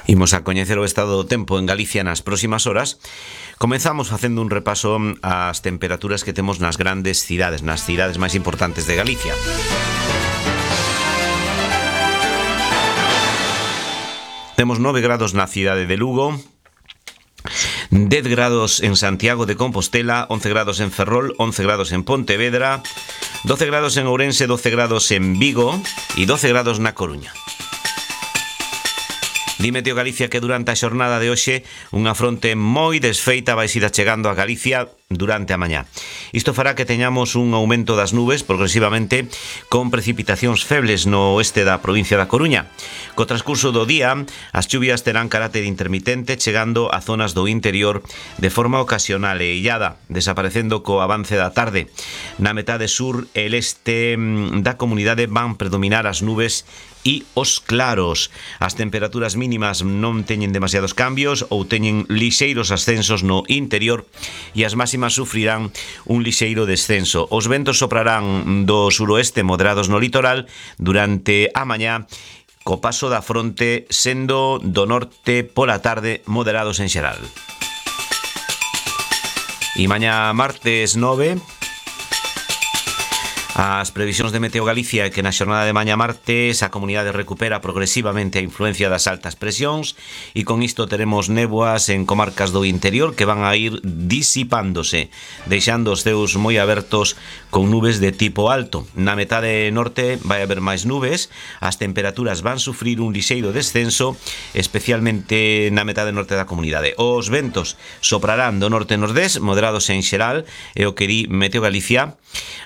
Imos a coñecer o estado do tempo en Galicia nas próximas horas. Comezamos facendo un repaso ás temperaturas que temos nas grandes cidades, nas cidades máis importantes de Galicia. Temos 9 grados na cidade de Lugo, 10 grados en Santiago de Compostela, 11 grados en Ferrol, 11 grados en Pontevedra, 12 grados en Ourense, 12 grados en Vigo e 12 grados na Coruña. Di Meteo Galicia que durante a xornada de hoxe unha fronte moi desfeita vai ir achegando a Galicia durante a mañá. Isto fará que teñamos un aumento das nubes progresivamente con precipitacións febles no oeste da provincia da Coruña. Co transcurso do día, as chuvias terán carácter intermitente chegando a zonas do interior de forma ocasional e illada, desaparecendo co avance da tarde. Na metade sur e leste da comunidade van predominar as nubes e os claros. As temperaturas mínimas non teñen demasiados cambios ou teñen lixeiros ascensos no interior e as máximas sufrirán un lixeiro descenso. Os ventos soprarán do suroeste moderados no litoral durante a mañá, co paso da fronte sendo do norte pola tarde moderados en xeral. E mañá martes 9... As previsións de Meteo Galicia é que na xornada de mañá martes a comunidade recupera progresivamente a influencia das altas presións e con isto teremos néboas en comarcas do interior que van a ir disipándose, deixando os ceus moi abertos con nubes de tipo alto. Na metade norte vai haber máis nubes, as temperaturas van sufrir un lixeiro descenso, especialmente na metade norte da comunidade. Os ventos soprarán do norte-nordés, moderados en xeral, é o que di Meteo Galicia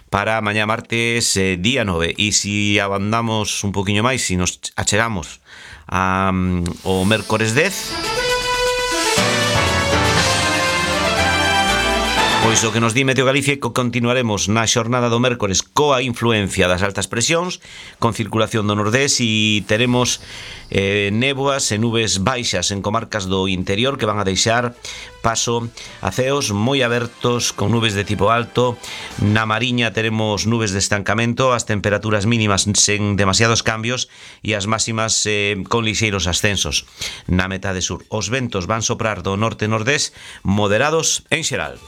para mañá martes día 9. E se abandamos un poquinho máis, se nos achegamos ao mércores 10, pois o que nos di Meteo Galicia é que continuaremos na xornada do mércores coa influencia das altas presións, con circulación do nordés, e teremos néboas e nubes baixas en comarcas do interior que van a deixar paso a ceos moi abertos con nubes de tipo alto. Na Mariña teremos nubes de estancamento, as temperaturas mínimas sen demasiados cambios e as máximas con lixeiros ascensos. Na metade sur, os ventos van soprar do norte-nordés moderados en xeral.